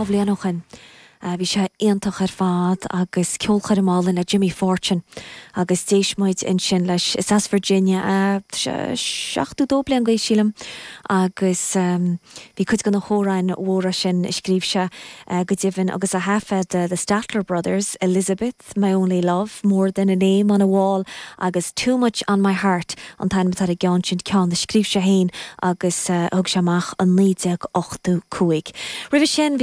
bhliain ó shin. Bhí sé iontach ar fad agus ceolchoirm álainn le Jimmy Fortune agus d'éist muid ansin leis. Is as Virginia é, tá sé 72 bliain d'aois sílim agus bhí cuid de na hamhráin mhóra sin a scríobh sé go deimhin agus a thaifead The Statler Brothers, Elizabeth. My Only Love, More Than a Name on a Wall agus Too Much on My Heart an t-ainm atá ar an gceann sin, ceann a scríobh sé féin agus a thug sé amach i 1985. Roimhe sin bhí.